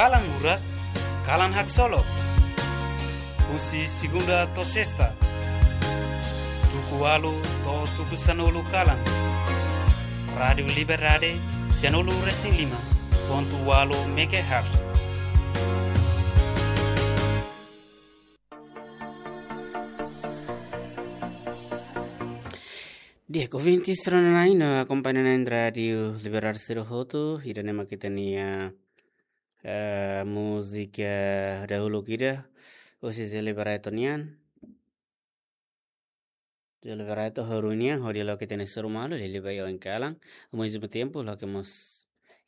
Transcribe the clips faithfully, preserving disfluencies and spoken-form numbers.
Kalan Murak, kalan haksolok. Husi segunda to'o sesta, tuku ualu to'o tuku sanulu kalan. Rádiu Liberdade, sanulu resin lima pontu ualu megahertz. Di'ak, ouvintes rona-na'in no akompaña na'in Rádiu Liberdade sira hotu, ida-ne'e mak ita-nia, eh, múzika dahuluk ida, husi Zé Liberato nian. Zé Liberato ho Rui nian, hodi loke ita-nia seru malu, liuliu ba iha oin kalan, ao mesmo tempo, loke mós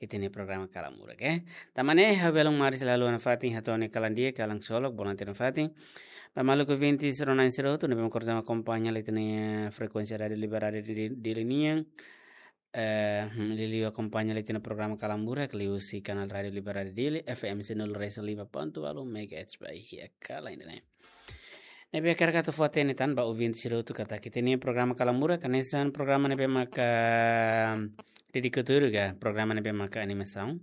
ita-nia programa Kalan Murak, eh. Tanba ne'e, ha'u belun maris lalu ona fatin, hato'o nia kalan di'ak, kalan solok, bonan tiha ona fatin. Ba maluk ouvintes rona-na'in sira hotu, ne'ebé mak konsege akompaña ita-nia frekuénsia Rádiu Liberdade Di-, Dili nian. Eh, hmm, liuliu akompaña ita-nia programa Kalan Murak, liuhusi kanál Rádiu Liberdade Dili, F M sanulu resin lima pontu ualu megahertz ba iha kalan ida-ne'e. Ne'ebé hakarak atu fó-hatene tan ba ouvinte sira hotu katak ita-nia programa Kalan Murak, hanesan programa ne'ebé maka dedikadu ka programa ne'ebé maka animasaun.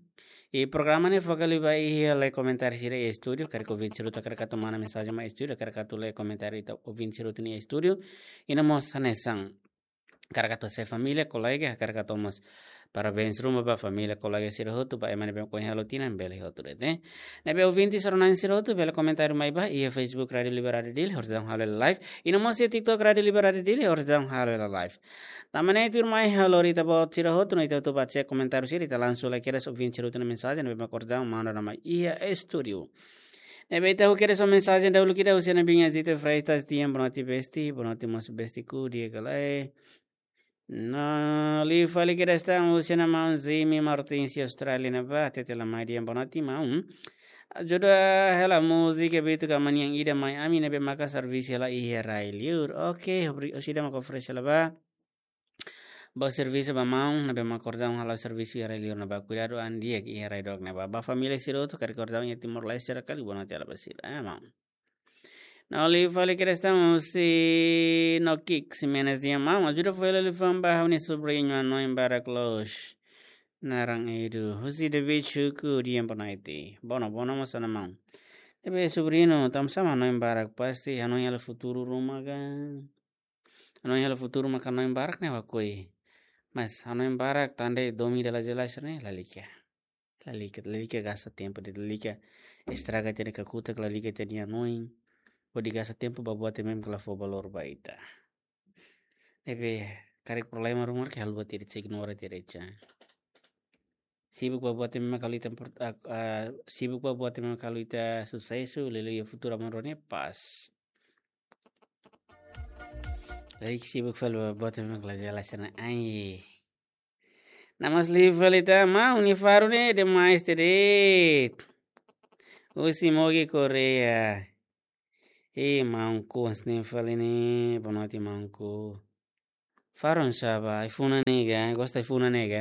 I programa ne'e foka liu ba iha lee komentáriu sira iha estúdiu, karik ouvinte sira hotu hakarak atu manda mensajen mai estúdiu, hakarak atu lee komentáriu ita ouvinte sira hotu nia estúdiu. I no mós hanesan hakarak atu hasai família, kolega, hakarak atu mós parabéns ruma ba família, kolega sira hotu, ba ema ne'ebé ohin halo tinan, bele hotu de'it, eh. Ne'ebé ouvintes rona-na'in sira hotu, bele komentáriu mai ba iha Facebook Rádiu Liberdade Dili, oras daudaun halo hela live. I no mós iha TikTok Rádiu Liberdade Dili, oras daudaun halo hela live. Tanba ne'e tuirmai ha'u lori ita-boot sira hotu, no ita hotu bá cek komentáriu sira, ita langsung lee kedas ouvinte sira hotu nia mensajen, ne'ebé mak oras daudaun manda ona mai iha estúdiu. Ne'ebé ita halo kedas mensajen dahuluk ida husi Ana Binha Zita Freitas, di'ak, boa noite besti, boa noite mós bestiku, di'ak ka lae. No liu fali kedas tan husi Ana Maun Zimi Martins iha Austrália ne'ebá, hatete la mai di'ak, boa noite maun. Ajuda hela múzika Bitu ka Maniang ida mai ami ne'ebé maka servisu hela iha rai-liur. Oke, obri-, orsida maka oferese hela ba. Ba servisu ba maun, ne'ebé maka oras daudaun halo servisu iha rai-liur ne'ebá. Kuidadu an di'ak iha rai dook ne'ebá. Ba família sira hotu, karik oras daudaun iha Timor-Leste sira kali, boa noite hela ba sira. Eh, maun. No liu fali kedas tan husi Nokik Ximenes, di'ak maun, ajuda fó hela liafuan ba ha'u-nia sobriñu hanoin barak loos. Naran Edu. Husi David Chuku, di'ak, boa noite. Boa no-, boa no mós Ana Maun. Ne'ebé sobriñu, tanbasá mak hanoin barak, pasti hanoin hela futuru ruma ka. Hanoin hela futuru maka hanoin barak ne'e ha'u lakohi. Mas hanoin barak tan de'it domin ida la jelas ne'e, lalika. Lalika, lalika gasta tempu de'it, lalika estraga ita-nia kakutak, lalika ita-nia hanoin. Hodi gasta tempu ba buat ne'ebé mak la fó valór ba ita. Ne'ebé karik problema ruma karik haluha de'it, ignora de'it. Sibuk ba buat ne'ebé mak halo ita import-, ah, ah, sibuk ba buat ne'ebé mak halo ita susesu, liuliu iha futuru aban-bainrua ne'e pas. Lalika sibuk fali ba buat ne'ebé mak la jelas ne'e, ai. No mós liu fali tan, maun, nia faru ne'e demais de'it. Husi Mogi Correia. Eh, maunku, hanesan ne'e fali ne'e, boa noite maunku. Faru oinsá ba, ai-funan ne'e ka, gosta ai-funan ne'e ka.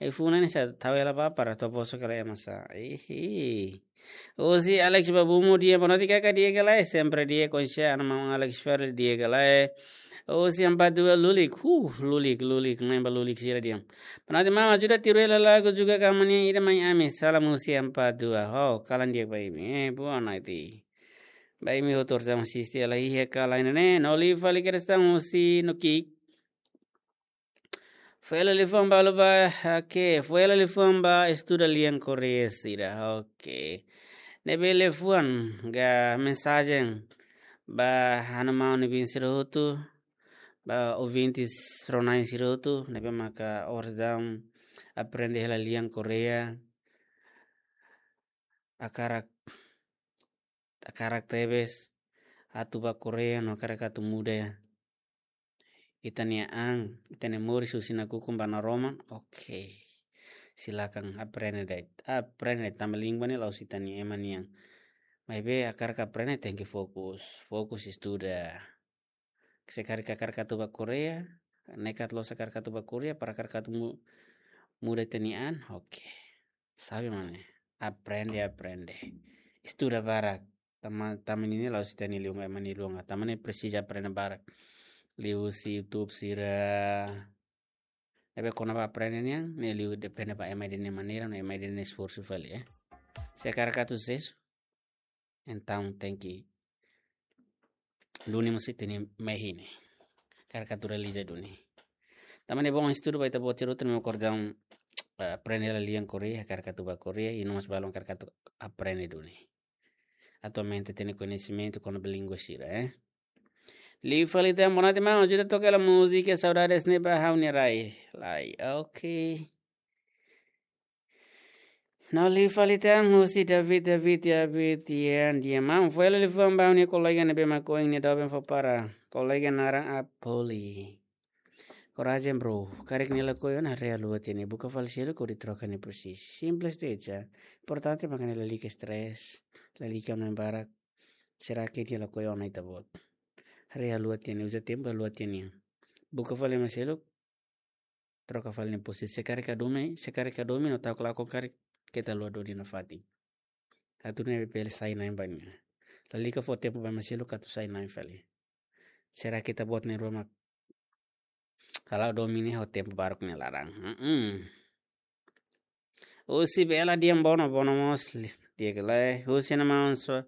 Ai-funan ne'e sá, tau hela ba para to'o poso kala ema sá. Ihi. Husi Alex Babumo, di'ak, boa noite kaka, di'ak ka lae, sempre di'ak, konsia, Ana Maun Alex Ferre, di'ak ka lae. Husi Ampat Dua, lulik, huh, lulik, lulik, na'in ba lulik sira di'ak. Boa noite maun, ajuda tiru hela lagu Juga ka Maniang ida mai ami, salam husi Ampat Dua. Ho, kalan di'ak ba imi, eh, boa noite. Ba imi hotu oras daudaun asiste hela iha kalan ne'e, no liu fali kedas tan husi Nokik. Fó hela liafuan ba halo ba, oke, fó hela liafuan ba estuda lian Korea sira, oke. Ne'ebé liafuan ka mensajen ba Ana Maun nia biin sira hotu, ba ouvintes rona-na'in sira hotu, ne'ebé maka oras daudaun aprende hela lian Korea, hakarak, hakarak tebes atu ba Korea no hakarak atu muda ita-nia an, ita-nia moris husi nakukun ba naroman, oke. Silakan aprende de'it, aprende de'it, tanba língua ne'e la'ós ita-nia ema nian. Maibé hakarak aprende tenke fokus, fokus estuda. Se karik hakarak atu ba Korea, nekat loos hakarak atu ba Korea, para hakarak atu mu-, muda ita-nia an, oke. Sabe mane, aprende, aprende. Estuda barak. Tanba, tanba ne'e la'ós ita-nia lian, ema nia lian. Tanba ne'e presiza aprende barak. Liuhusi YouTube sira. Ne'ebé kona-ba aprende nian, ne'e liu depende ba ema ida-ne'e maneira, no ema ida-ne'e esforsu fali, eh. Se hakarak atu susesu, entaun tenke duni mós ita-nia mehi ne'e. Hakarak atu realiza duni. Tanba ne'e bom estudu ba ita-boot sira hotu ne'ebé mak ohin, eh, aprende hela lian Korea, hakarak atu bá Korea, i no mós balun hakarak atu aprende duni. Atualmente tenke koñesimentu kona-ba língua sira, eh. Liu fali tan, boa noite maun, ajuda toka hela múzika Saudades ne'e ba ha'u-nia rai. Lai, oke. No liu fali tan, husi David, David, David, Yan, Yan maun. Fó hela liafuan ba ha'u-nia kolega ne'ebé mak ohin nia doben fó para. Kolega naran Apoli. Korajen bro, karik nia lakohi ona haree ha'u-nia liafuan ne'e, buka fali seluk hodi troka nia posisi. Simples de'it. Importante maka nia lalika stress, lalika hanoin barak. Será que nia lakohi ona ita-boot? Haree ha'u-nia liafuan ne'e, uza tempu ha'u-nia liafuan ne'e. Buka fali ema seluk, troka fali nia posisi. Se karik hadomi, se karik hadomi no ta'uk lakon karik, keta haluha duni nafatin. Atu ne'e bele sai na'in ba nia. Lalika fó tempu ba ema seluk atu sai na'in fali. Será que ita-boot na'in-rua mak hala'o domin ne'e ho tempu baruk nia laran. Mm-mm. Husi Bela Dian Bono, Bono mós li-, di'ak ka lae. Husi nia maun Su-,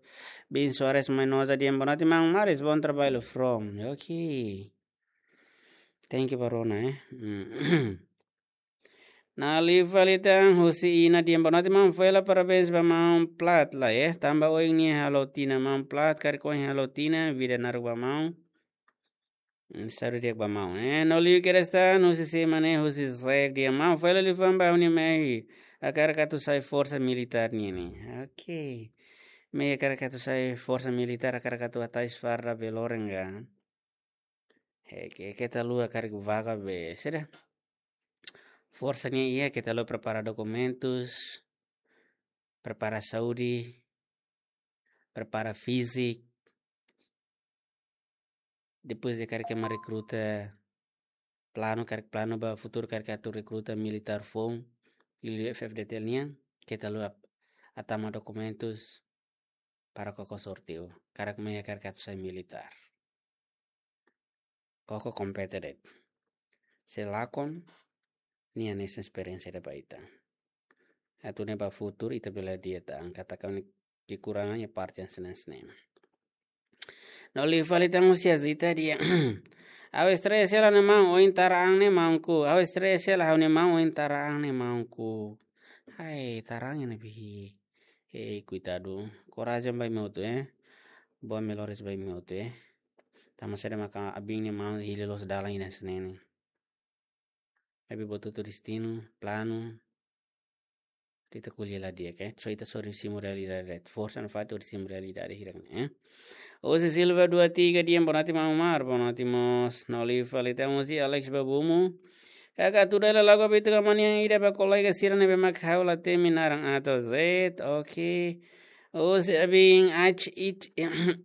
Bin Suarez Mainoza Dian Bono, ati maun Maris, bom trabalho from. Ok. Thank you ba rona, eh. Mm. No liu fali tan husi Ina Dian Bono, ati maun, fó hela parabéns ba maun Plat lai, eh. Tanba ohin nia halo tinan maun Plat, karik ohin halo tinan, vida naruk ba maun. Mm, saúde di'ak ba maun, eh. No liu kedas tan husi Semane, husi Zek Dian, maun, fó hela liafuan ba ha'u-nia mehi. Hakarak atu sai forsa militár nian ne'e. Ok. Mehi hakarak atu sai forsa militár, hakarak atu hatais farda be loron ka. He, ke, keta haluha karik vaga be, saida. Forsa nian iha, keta haluha prepara dokumentus, prepara saúde, prepara fíziku. Depois de karik ema rekruta, planu, karik planu ba futuru, karik atu rekruta militár foun, liuliu F-FDTL nian, keta haluha ap-, hatama dokumentus para koko sorteiu. Karik mehi hakarak atu sai militár. Koko kompete de'it. Se lakon, nia hanesan esperiénsia ida ba ita. Atu nune'e ba futuru ita bele dieta angkata kami kekurangan iha parte hanesan ne'e. No liu fali tan husi Azita Dian. Ha'u stress hela ne'e maun, ohin tara an ne'e maunku. Ha'u stress hela ha'u-nia maun, ohin tara an ne'e maunku. Hai, tara an ne'ebé. Hei, koitadu. Korajen ba imi hotu, eh. Boa melhores ba imi hotu, eh. Tanba saida maka abin nia maun hili loos dalan ida hanesan ne'e. Maibé buat hotu destinu, planu. Ita ko'alia la di'ak, eh. Só ita só hodi simu realidade. Forsa nafatin hodi simu realidade hirak ne'e, eh. Husi Silva dua tiga Dian, boa noite maun Mar, boa noite mós. No liu fali tan husi Alex Babumu. Kaka tuda la lagu abitu ka manian ida ba kolega sira ne'ebé mak ha'u la temi naran A to'o Z, ok. Husi abin H it-,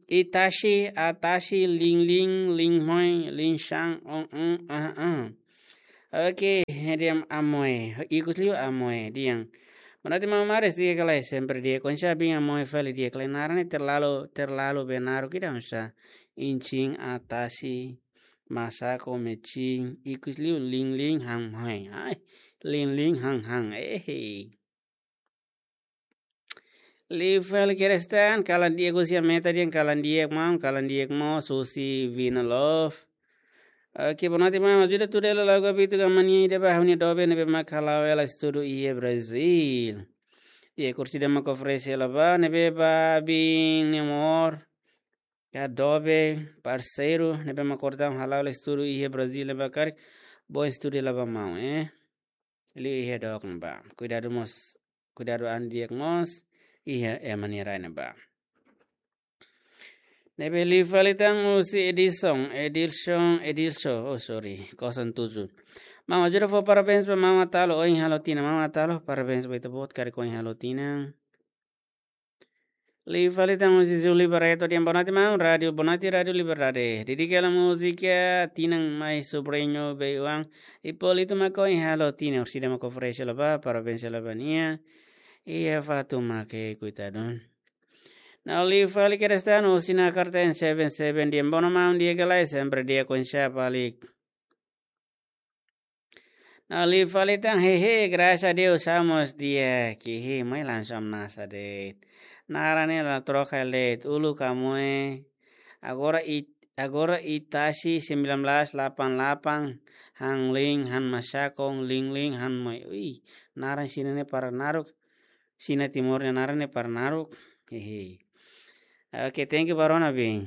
Itashi, Atashi, Ling Ling, Ling Hoi, Ling Shang, on, on, ah, ah. Ok, Dian Amoy, ikus liu Amoy, Dian. Boa noite maun Maris, di'ak ka lae, sempre di'ak, oinsá abin Amoy fali, di'ak ka lae, naran ne'e terlalu, terlalu be naruk ida oinsá. Inchin, Atashi, Masako, Mechin, ikus liu Ling Ling Hang Hoi. Ai, Ling Ling Hang Hang, eh. Liu fali kedas tan, kalan di'ak husi Ameta Dian, kalan di'ak maun, kalan di'ak mós husi Vina Love. Ok, boa noite maun, ajuda tuda hela lagu abitu ka manian ida ba ha'u-nia doben ne'ebé mak hala'o hela estudu iha Brazil. Di'ak, orsida mak oferese hela ba, ne'ebé ba abin nia amór. Ka doben, parseiru, ne'ebé mak orsida hala'o hela estudu iha Brazil ne'ebá karik, bom estudu hela ba maun, eh. Liu iha dook ne'ebá. Kuidadu mós, kuidadu an di'ak mós, iha ema nia rai ne'ebá. Ne'ebé liu fali tan husi Edison, Edilson, Edilson, oh sorry, kosong tujuh. Maun, ajuda fó parabéns ba maun Atalo, ohin halo tinan, maun Atalo, parabéns ba ita-boot karik ohin halo tinan. Liu fali tan husi Zuli Barreto Dian, boa noite maun, Rádio, boa noite Rádio Liberdade. Dedika hela múzika Tinan mai Sobrinho Beiuang, Hipólito mak ohin halo tinan, orsida mak oferese hela ba, parabéns hela ba nia. Iha fatin mak, koitadu. No liu fali kedas tan husi Nakarten seven seven Dian, boa noite maun, di'ak ka lae, sempre di'ak, oinsá fali. Liu fali tan, hehe, graças a Deus, estamos di'ak, hehe, mai langsung nasa de'it. Naran ne'e la troka de'it, uluk Amoe. Agora It-, agora Itashi sembilan belas delapan delapan, han Ling, han Masakong, Ling Ling, han Mai. Ui, naran Xina ne'e para naruk. Xina Timor nia naran ne'e para naruk. Hehe. Oke, thank you ba rona, bin.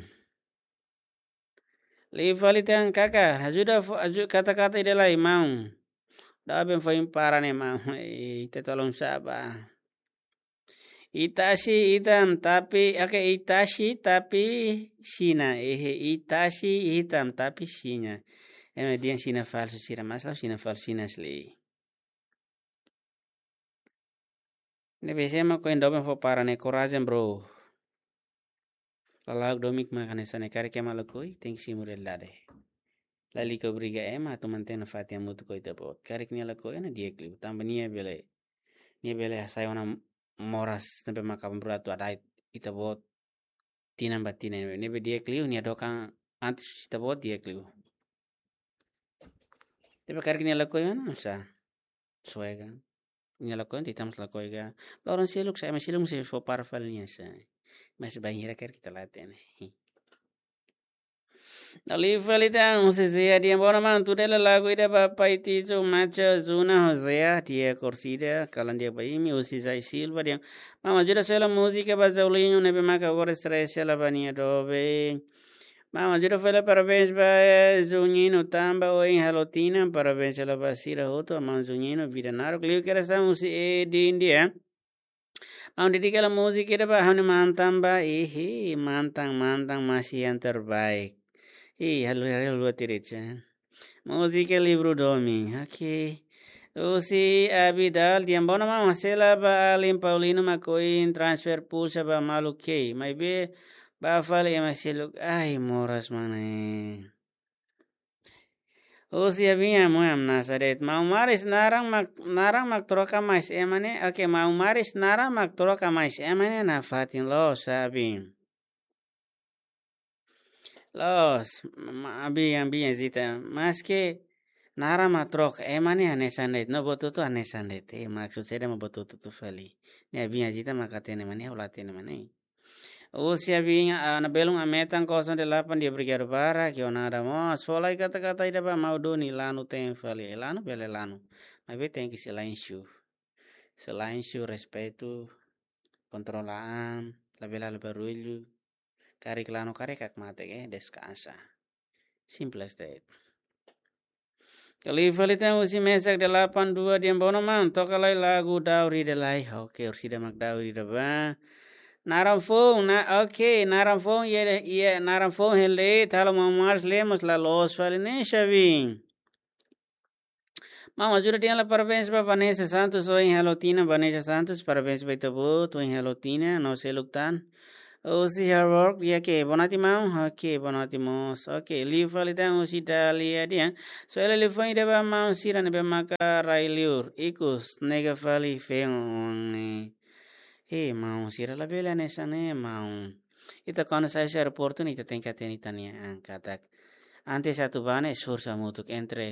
Liu fali tan kaka, ajuda fó, aju-, kata-kata ida lai, maun. Doben foin para ne'e, maun. Eh, ita tolong sabar. Itashi hitam tapi, oke, Itashi tapi Xina. Eh, Itashi hitam tapi Xina. Ema dehan Xina falsu sira, mas la'ós Xina falsu, Xina asli. Ne'ebé sé mak ohin doben fó para ne'e, korajen, bro. Lala'ok domin mak hanesan ne'e, karik ema lakohi, tenke simu realidade. Lalika obriga ema atu mantein nafatin hamutuk ho ita-boot. Karik nia lakohi, nia di'ak liu. Tanba nia bele, nia bele hasai ona moras, ne'ebé maka aban-bainrua atu hada'et ita-boot tinan ba tinan. Ne'ebé di'ak liu, nia dokan antes ita-boot di'ak liu. Tapi karik nia lakohi, mana bisa? Soe ka. Nia lakohi, ita mós lakohi ka. Loron seluk, ema seluk sei fó para fali nia sa. Mas bainhira karik ita la hatene. Liu fali tan, husi Zia dehan: "Boa noite, maun, tudo ela lagu ida ba Pai Tizo, Macha, Zuna, José, di'ak, orsida, kalan di'ak ba imi." Husi Zai Silva dehan: "Maun, ajuda soe hela múzika ba Zaulinho, ne'ebé maka agora estrese hela ba nia doben." Maun, ajuda fó hela parabéns ba, eh, Juninho tanba ohin halo tinan, parabéns hela ba sira hotu, maun Juninho, vida naruk. Liu kedas tan, husi Edin dehan: "Maun, dedika hela múzika ida ba ha'u-nia mantan ba, ihi, mantan, mantan, masih yang terbaik." Ih, halo, halo, halo, tirit, ya. Múzika livru domin, oke. Husi Abidal dehan: "Boa noite, maun, ha'u sei hela ba alin Paulino mak ohin transfer pulsa ba malu kei. Maibé ba fali ema seluk, ai, moras mana." Husi Abinha Moe, hamnasa de'it. Maun Maris naran mak, naran mak troka, mas ema ne'e, oke, Maun Maris naran mak troka, mas ema ne'e nafatin loos, sabe? Loos, ma-, Abinha, Abinha Zita, maske naran mak troka, ema ne'e hanesan de'it, no buat hotu hanesan de'it. Eh, maksud saida mak buat hotu fali? Ne'e Abinha Zita mak hatene mak ne'e, ha'u la hatene mak ne'e. Husi Abinha, ah, Ana Belun Ametan kosong delapan dehan: "Obrigadu barak, jornada mós." Fó lai kata-kata ida ba maun Doni, lanu te'in fali. Eh, lanu bele lanu. Maibé tenke silénsiu. Silénsiu, respeitu, kontrola an, labele halo barullu. Karik lanu, karik hakmatek, eh, deskansa. Simples de'it. Liu fali tan, husi Mesak delapan dua dehan: "Boa noite, maun, toka lai lagu Daur Ida Lai." Oke, orsida mak Daur Ida ba. Naran foun, na, oke, naran foun, iha, iha, naran foun hele, halo Maun Maris Lemos la loos fali ne'e, xabi. Maun, ajuda dehan hela parabéns ba Vanessa Santos, ohin halo tinan, Vanessa Santos, parabéns ba ita-boot, ohin halo tinan, no seluk tan. Husi Harvard, di'ak, boa noite, maun. Oke, boa noite mós. Oke, liu fali tan, husi Dalia dehan: "Soe hela liafuan ida ba maun sira ne'ebé maka rai liur, ikus, nega fali feen." Eh, maun sira, labele hanesan ne'e, maun. Ita kuandu sai husi aeroportu ne'e, ita tenke hatene ita-nia an katak. Antes atu bá ne'e, esforsu hamutuk entre